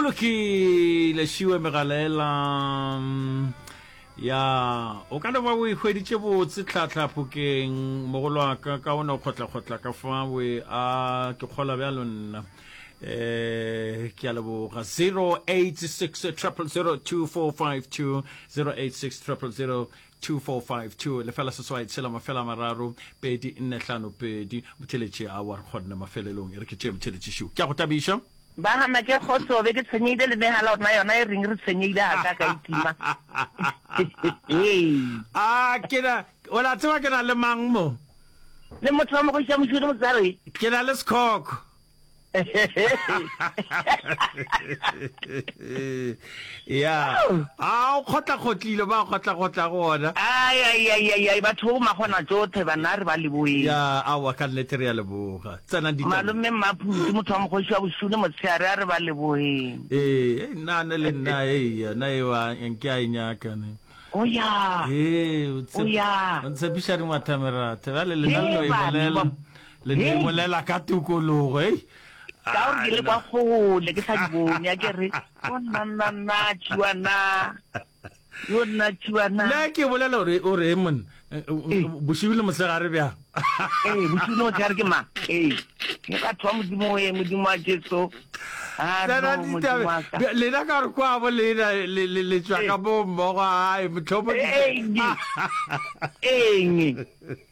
lokile šiwe megalaela ya o ka no ba o e hweditše botse tlhatlha phokeng mogolo wa ka ka o no kgotlakgotla ka fa we a ke kgola bjalo nna eh ke a leboga 086 000 2452 086 000 2452 lefela seswai tshela mafela mararo pedi nne hlano pedi motheletši a wa re kgonne mafelelong e re ke tšee motheletši šiu ke a go tabiša Ba gana ke kgotso be ke tshwenyehile le megala rena yona e reng re tshwenyehile ga ka ka e tima. A ke na o la tseba ke na le mang mo? Le motho wa mogoša mošuri motsare. Ke na le sekhokho. Ya. A o kgotlakgotlile ba kgotlakgotla go ona. Ai ai ai ai ai batho bo magona tšotlhe bana re ba leboeng. Ya aowa ka nnete re ya leboga. Tsenang ditabeng. Malome Mmaphuti motho wa mokgoši wa bošule motshehare a re ba leboheng. Ee, nna ne le nna ei yona eo nke a e nyaka ne. O ya. Ee, o O ya. o ntshepiša dingwathameratha bjale lena le no e bolela. Le no e bolela ka tokologo ei. Ka gore ke le kwa kgole ke sa di bone a ke re o nna nna nna tšhiwana. Yo nna tšhiwana. Nna ke bolela gore o re monna bošego le mosegare bjang? Ee, bošego le mosegare ke mang? Ee, ke batho ba Modimo we, Modimo wa Jesu. A Tsena no, Modimo wa ka. ditabe lena ka gore kwa bo lena le le le tšwa ka bo mmogo ae motlhomo Eng? Eng?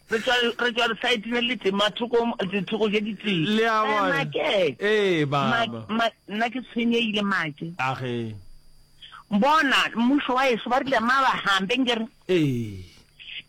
Re tšwa re tšwa lesaeteng le letee, mathoko dithoko tše ditee. Le a bona? Make. Ee, baba. Ma, nna ke tshwenyehile make. Age. Bona, mmušo wa ešo ba rile ma ba hambe nkere. Ee.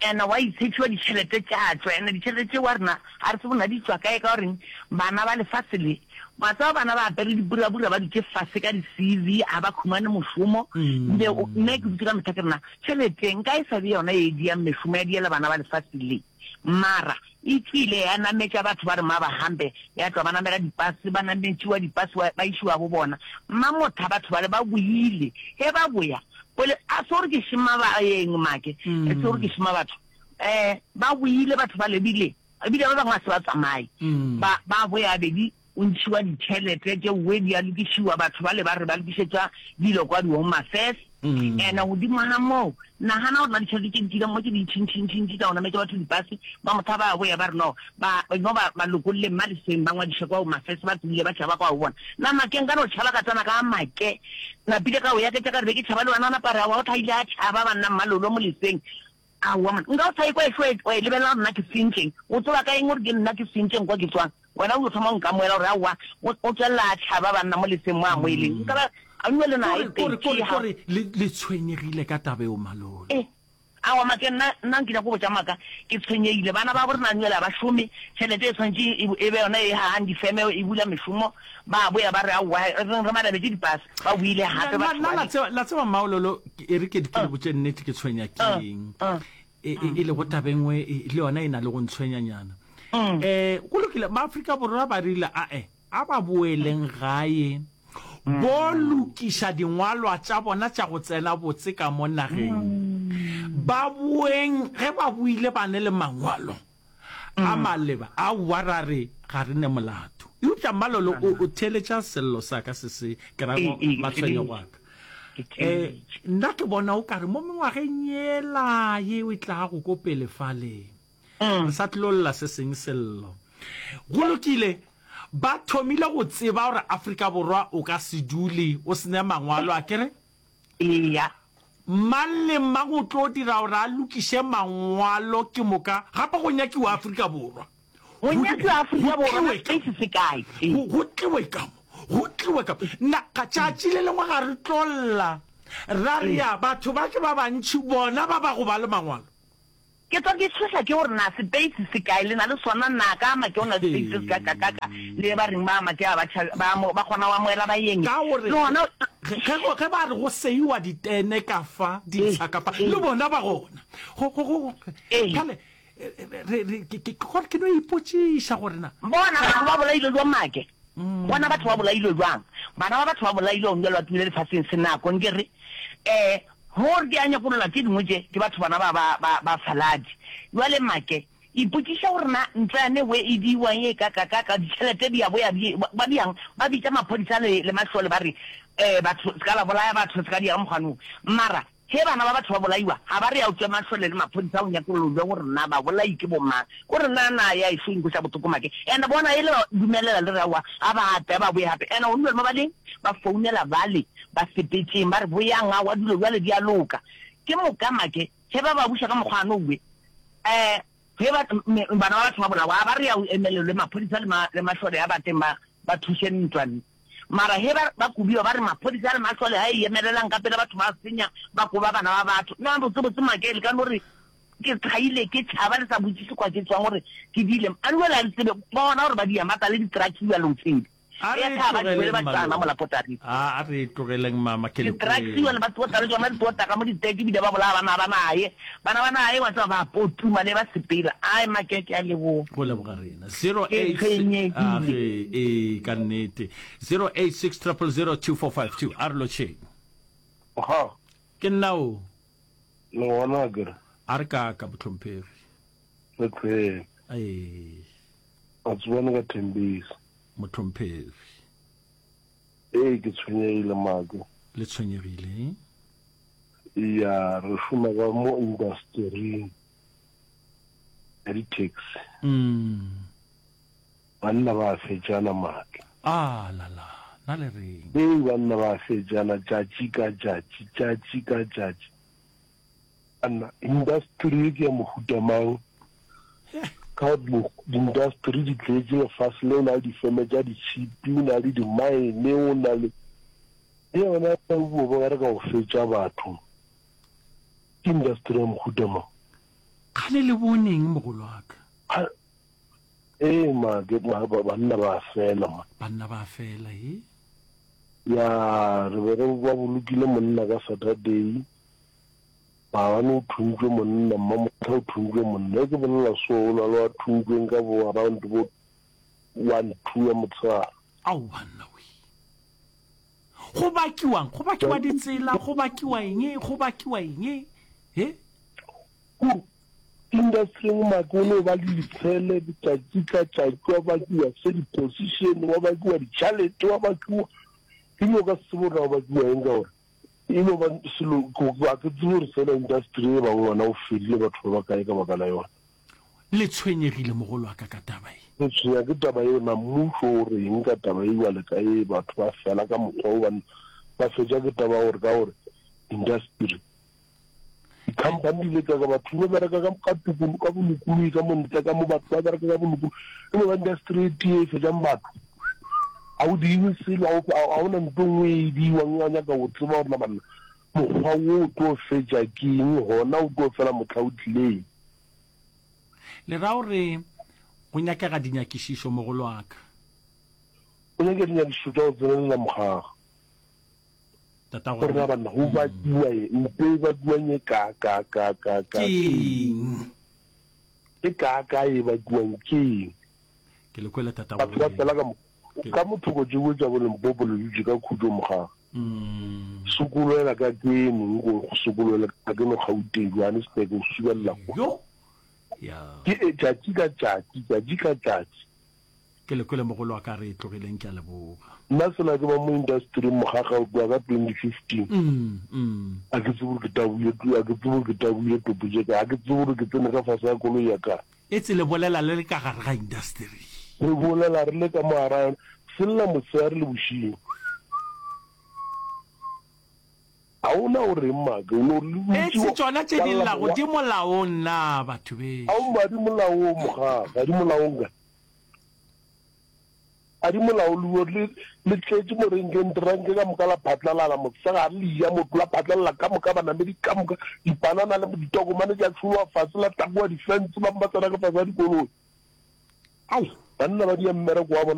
Ena wa itshepiwa ditšhelete tša tšwa, ena ditšhelete tše wa rena ga re tsebe na di tšwa kae ka goreng bana ba lefase le wa tseba bana ba apere dipurabura ba dutše fase ka di-CV ga ba khumane mošomo nne nne ke dutše ka mehla ke rena tšhelete nka e sa be yona e diang mešomo ya diela bana ba lefase le mara E tšwile ya nametša batho ba re ma ba hambe, ya tšwa ba namela dipase, ba nametšiwa dipase ba išiwa bo bona. Mmamotha batho bale ba boile, ge ba boya, pole, a se gore ke šema baeng make, e se gore ke šema batho, eh, ba boile batho bale ebile, ebile ba bangwe a se ba tsamaye, ba, ba boya bedi O ntšhiwa ditšhelete tše we di a lokišiwa, batho bale ba re ba lokišetša dilo kwa di-Home Affairs. Ene godimo ga moo, nagana gore na ditšhelete tše di tšwileng mo tše dintšintšintšintši tša go nametša batho dipase, ba motha ba boya ba re no, ba no ba ba lokolleng ba leseng ba ngwadiše kwa Home Affairs, ba tsebile ba tšhaba kwa go bona. Na make nka no tšhaba ka tsena ka make, napile ka o yaketša ka re be ke tšhaba le wena, napa re aowa o tla ile a tšhaba banna mmalolo mo leseng. Aowa monna, nka o sa ekwa ešo wa e lebelela gore nna ke sentšeng, o tseba ka eng gore ke nna ke sentšeng kwa ke tswang? Wena o yo thoma go nkamoela gore aowa, o, o tswelela a tšhaba banna mo leseng mo a mo e leng. Nka ba, a nwe le na e Kore, kore, pedi kore, ha. kore le, le tshwenyegile ka taba eo, Malolo. E, aowa make nna, nna nkile go botša maaka, ke tshwenyegile. Bana babo rena nwele ga ba šome, tšhelete e swanetše e, e be yona e hagang difeme, e bula mešomo, ba boya ba re aowa, re reng re manabetše dipase, ba boile Na, gape na, batho na la bale. tseba, la tseba Mmaololo, ke, e re ke, ke le Uh. botše nnete ke tshwenya ke Uh, eng. uh. E, e, e lego taba e nngwe e, le yona e na le go ntshwenyanyana. Um go lokile, Maafrika Borwa ba rile ae, a ba boeleng gae bo lokiša dingwalwa tša bona tša go tsena botse ka mo nageng. Ba boeng ge ba boile ba ne le mangwalo a maleba, aowa ra re ga re ne molato. Eupša Mmalolo o, o theeletša sello sa ka se se ke ra matshwenyego a ka. Eh, nna ke bona o kare mo mengwageng yela yeo e tlago ko pele fale, re sa tlilo lla se seng sello. Go lokile, ba thomile go tseba gore Afrika Borwa o ka se dule o se ne mangwalo, a ke re? Eya. Mang le mang o tlo dira gore a lokiše mangwalo ke moka gape go nyakiwa Afrika Borwa. Go nyakiwa Afrika Borwa na space se kae? Go tliwe ka mo, go tliwe ka mo. Na ga tšatši le lengwe ga re tlo lla ra re ya batho ba ke ba bantši bona ba ba go ba le mangwalo. Ke tswa ke tshoša ke gore na space se kae le na le sona na ka make o na le space se ka ka ka ka le ba reng ba make a ba tšha ba mo ba kgona go amoela baeng Ka gore le gona ge ge ge ba re go seiwa ditene ka fa ditsha ka fa le bona ba gona go go go bjale re re ke ke gore ke no ipotšiša gore na Bona batho ba bolailwe jwang make bona batho ba bolailwe jwang bana ba batho ba bolailwe gong bjale ba tumile lefaseng se nako nke re eh Gore ke a nyakolola tše dingwe tše ke batho bana ba ba ba ba faladi. Jwale make. Ipotšiša gore na ntwa yane we e diiwang e kakakaka, ditšhelete di a boya di, ba diang? Ba bitša maphodisa le, le mašole ba re, Eh, batho, se ka la bolaya batho, se ka dia ka mokgwa no. Mara, ge bana ba batho ba bolaiwa, ga ba re ya o tšwe mašole le maphodisa go nyakollolwe gore na babolai ke bomang. Ko re na na ya ešo e nkweša bohloko make. And bona e le ba dumelela le re aowa, a ba tle, a ba boye gape. And gone bjale mo ba leng, ba founela bale ba sepetšeng, ba re boyang, aowa dilo bjale di a loka. Ke moka make, Ge ba ba buša ka mokgwa ano we, eh, ge ba, me, bana ba batho ba bolawa, a ba re ya o emelelwe maphodisa le ma, le mašole a ba teng ba, ba thuše ntwa. Mara ge ba, ba kobiwa ba re maphodisa le mašole a e emelelang ka pela batho ba senya, ba koba bana ba batho. Na botse botse make le ka no re ke thaile ke tšhaba le sa botšiše kwa ke tšwang gore ke diile. A le le tsebe bona gore ba di ya mata le di-truck bjale o tsebe. A re e tlogeleng malome. A re e tlogeleng mama ke le kwele. Go leboga rena. 08 a ge ee ka nnete. 086 000 2452 a re lotšheng. Ga. Ke nna o. Le gona akere. A re kaka mohlomphegi. Re tlhwele. Ee. A tsebane ka Thembisa. Mohlomphegi. Ee, ke tshwenyegile, Make. Le tshwenyegile? Ya, re šoma ka mo indastering ya di-taxi. Mm. Banna ba a fetšana, Make. Ah, la la, na le reng? Ee, banna ba a fetšana tšatši ka tšatši, tšatši ka tšatši. Banna, indasteri ye ke ya mohuta mang? Ka gore diindasteri di tletše lefase le, o na le difeme tša ditšhipi, o na le dimaene, o na le. Le yona ya go ba re ka go fetša batho, ke indasteri ya mohuta mang? Kgale le boneng, mogolo wa ka? Ee, ma, ke, ma, banna ba fela, ma. Banna ba fela, ee. Ya, re be re ba bolokile monna ka Saturday. Maabane o thuntšwe monna, Mmamohla o thuntšwe monna. Ge ke bolela so, o na le wa thuntšweng ka bo around bo one, two ya motshegare. Ao banna we. Go bakiwang? Go bakiwa ditsela, go bakiwa eng, go bakiwa eng? He? Kuru, industry-ing make o no ba le ditshele letšatši ka tšatši, wa bakiwa se di-position, wa bakiwa ditšhalete, wa bakiwa, ebile o ka se tsebe gore na o bakiwa eng ka gore E no ba selo, ga ke tsebe gore fela industry e bang ngwana o fedile batho ba bakae ka baka la yona. Le tshwenyegile mogolo wa ka ka taba ye. Re tshwenya ke taba ye, na mmušo o reng ka taba ye bjale ka ye batho ba fela ka mokgwa wo banna ba fetša ke taba ya gore ka gore industry di-company di leka ka batho ba bereka ka ka tokolo ka bolokologi ka mo ntle ka mo batho ba bereka ka bolokologi e no ba industry e tee e fetšang batho ga o diwe selo ga o na nto nngwe e diiwang wa nyaka go tseba gore na banna mokgwa wo o tlo fetša ke eng gona o tlo fela motlha o tlileng. Le ra gore go nyakega dinyakišišo mogolwaka? Go nyakega dinyakišišo tša go tsenelela mogaga. Tatago Gore na banna go bakiwa eng, mpe e bakiwang e ka ka ka ka ka ke eng? E ka ka e bakiwang ke eng? Ke le kwele tatago Batho ba fela ka mo ka mo thoko tšeo tša bo Limpopo le dutše ka khutšo mogaga. Sokolwela ka keno nko go sokolwela ka keno Gauteng Johannesburg o subelela kwa. Yo ya. Ke e tšatši ka tšatši, tšatši ka tšatši. Ke le kwele mogolo wa ka re tlogileng ke a leboga. Nna sela ke ba mo industry mogaga o tloga ka 2015 a ke tsebe gore ke taboile a ke tsebe gore ke taboile topo tše kae a ke tsebe gore ke tsene ka fase ga koloi ya kae. Etse le bolela le le ka gare ga industry. Re bolela re le ka mo gare ga yona se lla motshegare le bošego. Ga o na o reng make o no re Etse tšona tše di llago di molaong na batho bešo. Aowa di molaong mogaga ga di molaong kae. A di molaong le le tletše mo renkeng direnke ka moka la phatlalala mosegare le eja motho la phatlalala ka moka banamedi ka moka dipanana le ditokomane tša tšhologa fase la taboga difense ba ba tsena ka fase ga dikoloi. Ao! Banna ba dia mmereko wa bona.